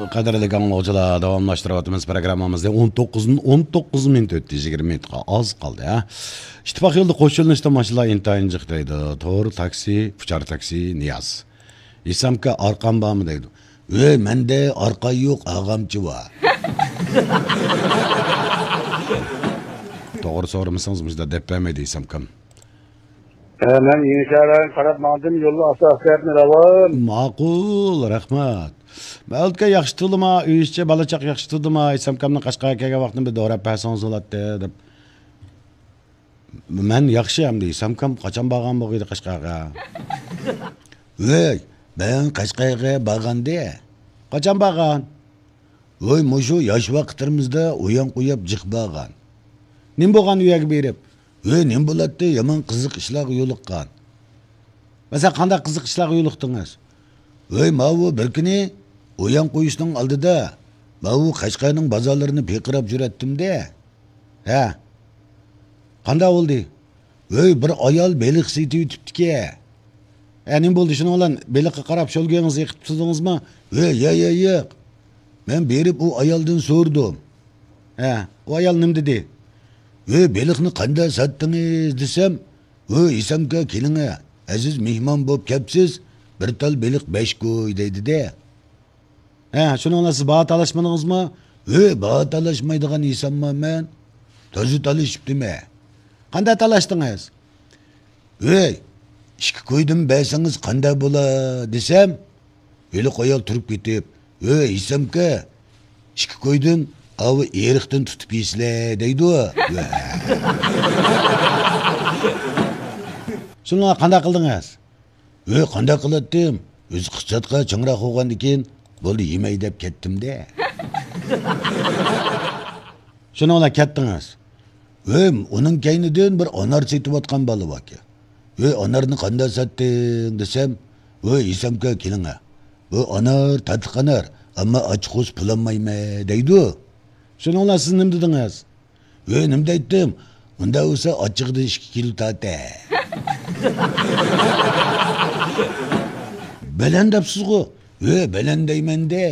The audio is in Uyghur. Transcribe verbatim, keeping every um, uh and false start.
قەدىرلىك ئاڭلىغۇچىلار، داۋاملاشتۇرۇۋاتىمىز پروگراممىمىزنى. ئون توققۇز، ئون توققۇز مىنۇت ئۆتتى، يىگىرمە مىنۇتقا ئاز قالدى، ھە. ئىتتىپاق يولىدا قوش يۆنىلىشتە ماشىنىلار ئىنتايىن جىق دەيدۇ. تور، تاكسى، ئۇچار تاكسى، نىياز. ھېسامكا، ئارقاڭ بارمۇ دەيدۇ. ۋەي، مەندە ئارقا يوق، ئاغامچى بار. توغرا سورىمىسىڭىز، مۇشۇنداق دەپ بەرمەيدۇ ھېسامكام. ھە، مەن يېڭىشەھەر رايونىغا قاراپ ماڭدىم، يولدا ئاستا ئاستا راۋان. ماقۇل، رەھمەت. مەۋلۇتكە ياخشى تۇردىما، ئۆي ئىچى بالا چاق ياخشى تۇردىما، ھېسامكامنى قەشقەرگە كەلگەن ۋاقتىنى بىر دوراپ بەرسىڭىز بولاتتى، دەپ. مەن ياخشى ئەمدى، ھېسامكام قاچان بارغان بولغىيدى قەشقەرگە؟ ۋەي، مەن قەشقەرگە بارغانىدى. قاچان بارغان؟ ۋوي، مۇشۇ ياش ۋاقىتلىرىمىزدا ئويان قويۇپ جىق بارغان. نېمە بولغان ئۇ يەرگە بېرىپ؟ ۋوي، نېمە بولاتتى؟ يامان قىزىق ئىشلارغا يولۇققان. مەسىلەن، قانداق قىزىق ئىشلارغا يولۇقتىڭىز؟ ۋوي، ماۋۇ بىر كۈنى ئويان قويۇشنىڭ ئالدىدا ماۋۇ قەشقەرنىڭ بازارلىرىنى پىرقىراپ يۈرەتتىم-دە. ھە. قانداق بولدى؟ ۋوي، بىر ئايال بېلىق سېتىۋېتىپتىكەن. ھە، نېمە بولدى؟ شۇنىڭ بىلەن بېلىققا قاراپ شولگىڭىزنى ئېقىتىپ تۇردىڭىزمۇ؟ ۋوي، يا، يا، ياق. مەن بېرىپ ئۇ ئايالدىن سورىدىم. ھە، ئۇ ئايال نېمە دېدى؟ ۋوي، بېلىقنى قانداق ساتتىڭىز دېسەم، ۋوي، ھېسامكا كېلىڭە، ئەزىز مېھمان بولۇپ كەپسىز، بىر تال بېلىق بەش كوي دەيدۇ-دە. ھە، شۇنىڭ بىلەن سىز باھا تالاشمىدىڭىزمۇ؟ ھۆي، باھا تالاشمايدىغان ئىنسانمۇ مەن؟ تازا تالىشىپتىمەن. قانداق تالاشتىڭىز؟ ھۆي، ئىككى كويدىن بەرسىڭىز قانداق بولا دېسەم، ھېلىقى ئايال تۇرۇپ كېتىپ، ھۆي، ھېسامكا، ئىككى كويدىن ئاۋۇ ئېرىقتىن تۇتۇپ يېسىلە دەيدۇ. شۇنىڭغا قانداق قىلدىڭىز؟ ھۆي، قانداق قىلاتتىم؟ ئۆزى ئىقتىسادقا چىڭراق بولغاندىكىن، بولدى، يېمەي دەپ كەتتىم-دە. شۇنىڭ بىلەن كەتتىڭىز؟ ھۆي، ئۇنىڭ كەينىدىن بىر ئانار سېتىۋاتقان بالا باركەن. ھۆي، ئانارنى قانداق ساتتىڭ دېسەم، ھۆي، ھېسامكا كېلىڭە. بۇ ئانار تاتلىق ئانار، ئەمما ئاچچىق بولسا پۇل ئالمايمەن دەيدۇ. شۇنىڭ بىلەن سىز نېمە دېدىڭىز؟ ھۆي، نېمە دەيتتىم؟ ئۇنداق بولسا ئاچچىقىدىن ئىككى كىلو تارتە. بەلەن دەپسىزغۇ؟ ھۆي، بەلەن دەيمەن-دە.